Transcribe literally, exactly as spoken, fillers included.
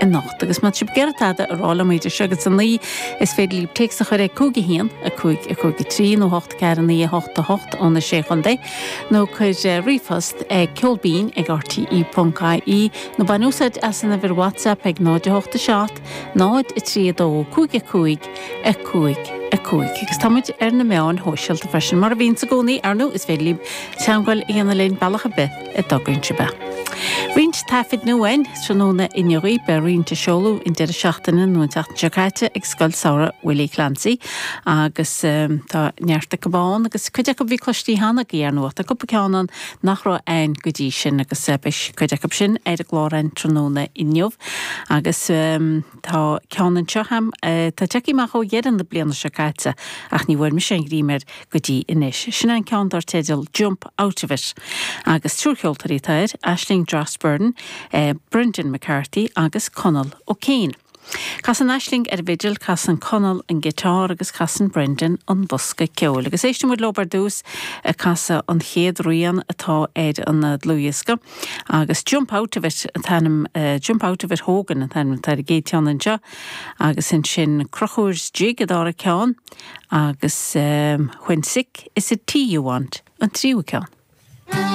anocht. Agus má tá sibh ag iarraidh tada a rá liom idir seo agus a naoi is féidir libh téacs a chur ag cúig a haon a cúig a cúig a trí nó hocht ceathair naoi a hocht a hocht ó na sé chontae nó cuir ríomhphost ag ceolbinn ag RTE ponc IE nó bain úsáid as an uimhir WhatsApp ag náid a hocht a seacht náid a trí a dó cúig a cúig a cúig a cúig. Agus táimid ar na meáin shóisialta freisin mar a bhíonn i gcónaí ar ndóigh is féidir libh teagmháil a dhéanamh linn bealach ar bith a dtograíonn sibh. Roinnt taifid nua tráthnóna inniu beidh roinnt á seoladh an deireadh seachtaine nó an tseachtain seo caite ag Scoil Samhraidh Willie Clancy agus um, tá neart acu ann agus cuid acu bhí cloiste cheana ar ndóigh tá cúpla ceann ann nach raibh ann go dtí sin agus uh, beidh cuid acu sin ar an gclár tráthnóna inniu agus um, tá ceann anseo agam uh, tá tagtha amach ó dheireadh na bliana seo caite ach ní bhfuair mise an ghreim air go dtí anois. Sin an ceann dar teideal Jump Out of It agus triúr ceoltóirí atá air, Aisling Drossburn, eh, Brendan McCarthy agus Conall O'Kane. Casann Aisling ar bhfidil casann Conall an giotár agus casann Brendan an bosca ceoil. Agus éistfidh muid leo ar dtús ag casadh an chéad rian atá ar an dlúthdhiosca. agus Jump Out of It an t-ainm uh, Jump Out of It Hogan an t-ainm atá ar an gcéad cheann anseo agus ansin Crochúr's Jig an dara ceann agus um, When Sick is it tea you want an tríú ceann.